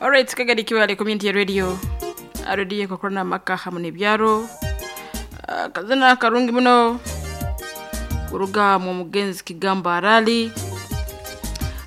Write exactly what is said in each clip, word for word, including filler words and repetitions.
Alright, Kagadi Kiwale Community Radio. Radio kokorana maka hamwe n'ebyaro. Ah, Kazina karungi muno kuruga mu mugenzi Kigamba Arali.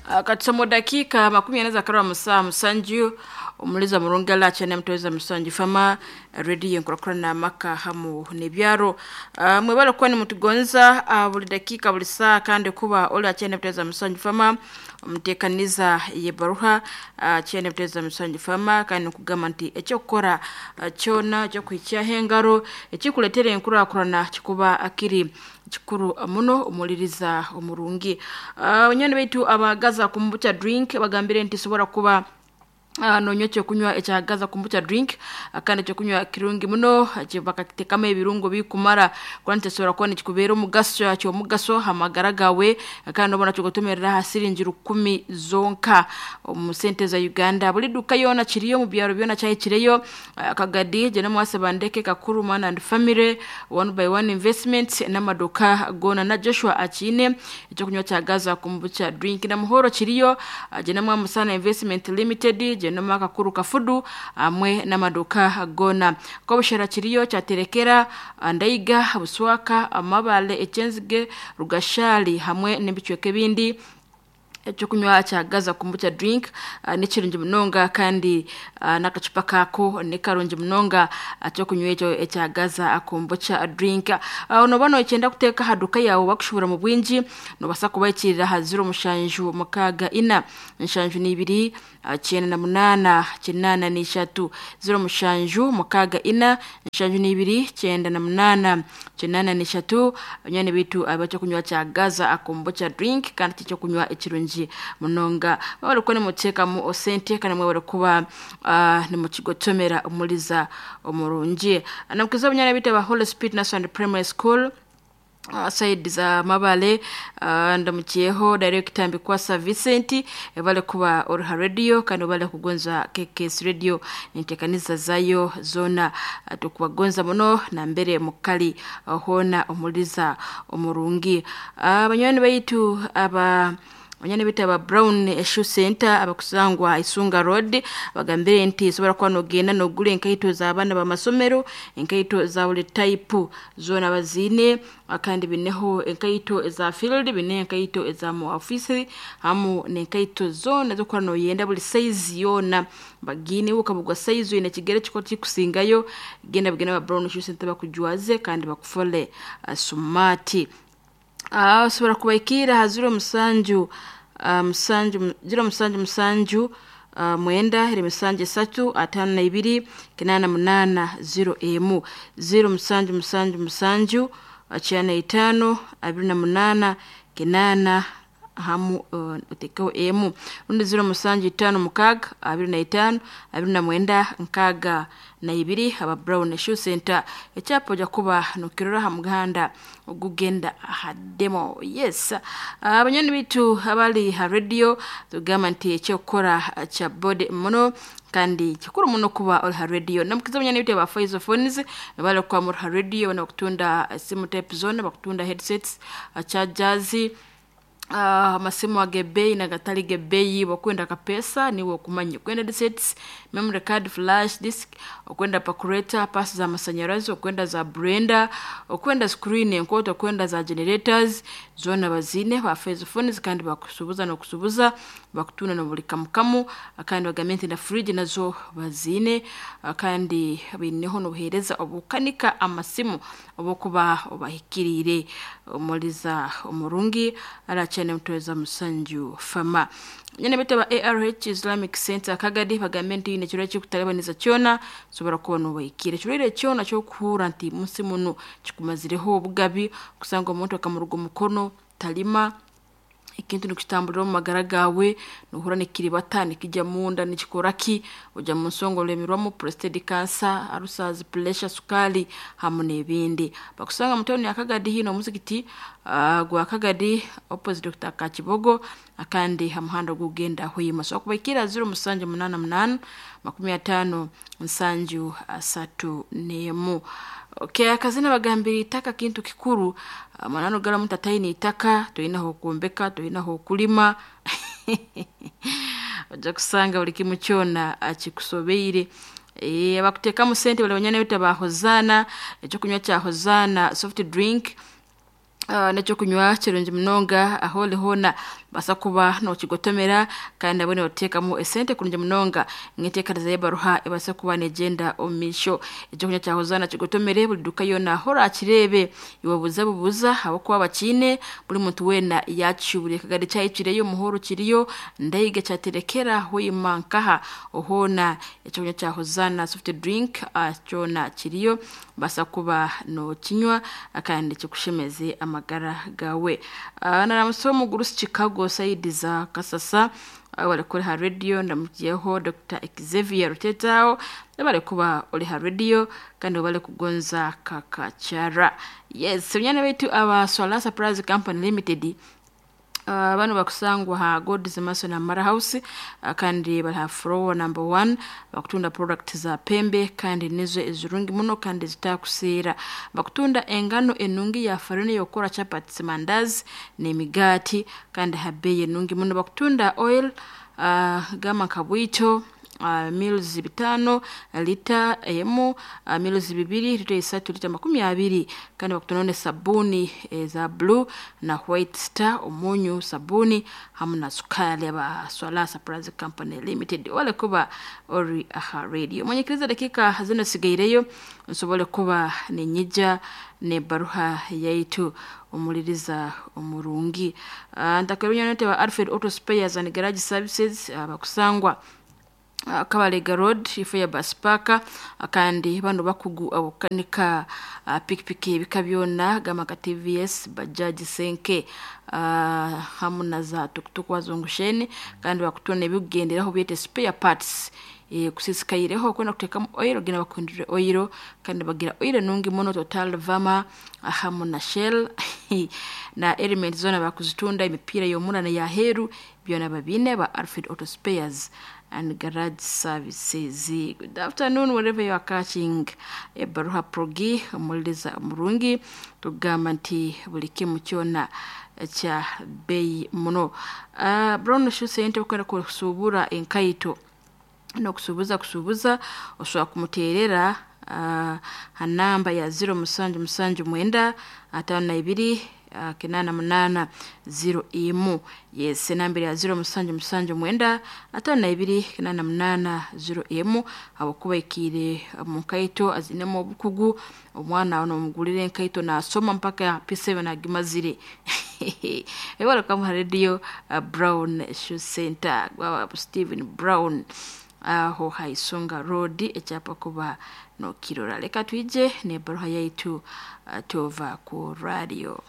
Ah, Katusamo dakika makumi ana zakarwa musaa musanju omuliza murungala chane mtoweza musanju fama radio nkorakorana maka hamu n'ebyaro. Uh, mwebale kuba nimutugonza uh, buli dakika buli saa kandi kuba oli achene mtoweza musanju fama omuteekaniza yebaruha uh, chene mtoweza musanju fama kandi nkugamba nti ekyokukora uh, kyona ekyokuhikyaho engaro ekikuleetera enkurakurana kikuba akiri kikuru muno omuliriza omurungi. uh, banywani baitu abagaza kombucha drink bagambire nti sobora kuba Uh, nonywa ekyokunywa ekyagaza kombucha drink uh, kandi ekyokunywa kirungi muno uh, bakakitekamu ebirungo bikumara kuba nti kuba nikikubeera omugaso kyomugaso hamagara gawe uh, kandi obona kyogotomerera ha siringi rukumi zonka omu sente za Uganda. Buli duka yona kiriyo mu byaro byona kyahikireyo. uh, Kagadi jena mwase bandeke Kakuru Man and Family One by One Investment n'amaduka gona na Joshua Akine ekyokunywa kyagaza kombucha drink na Muhoro kiriyo uh, jena mwamusana Investment Limited jenoma Kakuru Kafudu amwe n'amaduka gona kobushera kiriyo kyaterekera Ndaiga Buswaka Amabale Ekyenzige Rugashali hamwe n'ebicweka ebindi. Ekyokunywa kyagaza kombucha drink uh, nikirungi munonga kandi uh, n'akacupa kako nikarungi munonga ekyokunywa ekyo ekyagaza kombucha drink. uh, noba nokyenda kuteeka aha duka yawe bakushubura mu bwingi nobasa kubaikirira aha ziro mushanju mukaaga ina nshanju n'ibiri uh, kyenda na munaana kinaana n'ishatu ziro mushanju mukaaga ina nshanju n'ibiri kyenda na munaana kinaana n'ishatu. Banywani baitu abekyokunywa kyagaza kombucha drink kandi kikyokunywa ekirungi munonga mwebale kuba nimuteekamu osente kandi mwebale kuba uh, nimukigotomera omuliza omurungi. Namukiza obunyana baitu aba Holy Spirit National Primary School uh, side za Mabale. uh, ndamukiyeho director Mbikwasa Vincent ebale kuba oruha radio kandi obale kugonza K K S radio nintekaniza zayo zona. uh, tukubagonza muno na mbere mukali uh, hona omuliza omurungi. uh, banywani baitu aba banyani bita aba Brown Shoe Center abakusangwa Isunga Road bagambire nti sobora kuba nogenda nogula enkaito z'abaana b'amasomero enkaito za buli type zona bazine kandi bineho enkaito eza field bine enkaito eza mu office hamu n'enkaito zona zokora noyenda buli size yona bagine ukabugwa size ine kigere kiko kikusingayo genda bigenda ba Brown Shoe Center bakujwaze kandi bakufole uh, smart. Ah, osobola kubaikira ha ziro musanju uh, musanju ziro musanju musanju uh, mwenda eri musanju esatu atano na ibiri kinana munana ziro emu ziro musanju musanju musanju uh, kyana itano abiri na munana kinana hamu uh, otekeho emu rundi ziro musanju itano mukaaga abiri na itano abiri na mwenda nkaaga na ibiri. Aba Brown Shoe Center ekyapa ojja kuba nokirora ha muganda ogugenda aha demo. Yes, abanyoni baitu abali ha radio tugamba nti ekyokukora kya bode muno kandi kikuru muno kuba oli ha radio. Namukiza abanyoni baitu aba Faizo Phones bali kuba muri ha radio bana bakutunda simu type zone bakutunda headsets chargers Uh, amasimu agebeyi nagatali gebeyi okwenda kapesa niwe okumanya okwenda headsets memory card flash disk okwenda calculator pasi za masanyarazi okwenda za blender okwenda screen enkoto okwenda za generators zona bazine ba Faizo Phones kandi bakusubuza nokusubuza bakutuna no buli kamukamu kandi bagambe nti na fridge nazo bazine kandi bineho nobuhereza obukanika amasimu obukuba obahikirire omuliza omurungi ala chane mtoweza musanju fama. Nyene bita ba A R H Islamic Center Kagadi bagambe nti ine kirwa kikutalabaniza kyona sobora kuba nobaikire kirwaire kyona kyokuhura nti munsi muno kikumazireho obugabi kusanga omuntu akamuruga omukono talima ekintu nikitambulira omu magara gawe nohura nikiribata nikijya munda nikikoraki ojya mu nsongo olemerwamu prostate cancer ulcers pressure sukali hamu n'ebindi. Bakusanga mu tawuni ya Kagadi hino omuzikiti uh, gwa Kagadi opposite Doctor Kakibogo akandi hamuhanda gugenda Hoima. So kubaikira ziro musanju munana munana makumi atano nsanju asatu n'emu. Okay, akazina bagambira itaka kintu kikuru manano gara mutataini itaka toyina hokuombeka toyina hokulima Ojja kusanga buli kimu kyona kikusobeire. E, abakuteekamu sente bali banyana bita ba Hosanna, ekyokunywa kya Hosanna soft drink. Uh, nekyokunywa kirungi munonga aho oli hoona basa kuba nokigotomera kandi nabwo noteekamu esente kurungi munonga ngeteekereza y'ebaruha ebase kuba negyenda omu maisho. Ekyokunywa kya Hosanna kigotomere buli duka yoona aho orakireebe, iwe buza bubuza ahabw'okuba bakiine, buli muntu weena yakishubure. Kagari kyahikireyo, Muhoro kiriyo, Ndaiga kyaterekera, Hoima nkaha hoona ekyokunywa kya Hosanna soft drink uh, kyona kiriyo, basa kuba nokinywa kandi kikushemeze amagara gawe. Uh, naramusa omugurusi Chicago saidi za Kasasa, uh, bari kuri ha radio. Ndamukiyeho Doctor Xavier Rutetao, bari kuba ori ha radio kandi bari kugonza kakacara. Yes, nyana baitu aba Swala Surprise Company Limited. Uh, bano bakusangwa ha God's Mason Amara House, uh, kandi bali ha floor number one. Bakutunda product za pembe kandi nizo ezirungi muno kandi zitakuseera. Bakutunda engano enungi ya farine yokora chapati, mandazi n'emigaati kandi ha bei enungi muno. Bakutunda oil, uh, gama kabwito, uh, mils bitano lita emu, uh, mils bibiri lita isatu, lita makumi abiri. Kandi bakutunda ne sabuni za blue na white star, omunyu, sabuni hamu na sukari. Aba Swala Surprise Company Limited wale kuba ori aha radio mwenyekiriza dakika zino sigaireyo nsobole kuba nenyija ne baruha yaitu omuliriza omurungi. uh, ntakerunya wa Alfred Auto Spares and Garage Services, uh, bakusangwa uh, Kabalega Road ifo ya bus park. Kandi bano bakugu abukanika uh, pikipiki ebika byona gama ka T V S, Bajaj, Senke, uh, hamu na za tukutuku wazungusheni, kandi bakutona ebikugenderaho byete spare parts. E, kusisikaireho kwenda kuteekamu oil, genda bakuhindurire oil kandi bagira oil nungi muno, Total, Vama hamu na Shell na element zona bakuzitunda, emipiira y'omunda neyaheeru byona babine ba Alfred Auto Spares and Garage Services. Good afternoon wherever you are catching ebaruha progi. Omuliriza omurungi, tugamba nti buli kimu kyona kya bei muno. uh, Brown Shoe Center okwenda kusuubura enkaito n'okusuubuza kusuubuza, osobola kumuteerera uh, ha namba ya zero musanju musanju mwenda atano na ibiri uh, kinana munana zero imu. Yes, enamba ya zero musanju musanju mwenda atano na ibiri kinana munana zero imu, habwokuba ikiire mu nkaito azinemu obukugu. Omwana ono omugulire enkaito nasoma mpaka P seven agimazire. Ewalekamu ha radio, uh, Brown Shoe Center gwa Stephen Brown aho Haisunga Road, ekyapa kuba nokirora. Leka twije nebaruha yaitu, uh, tova ku radio.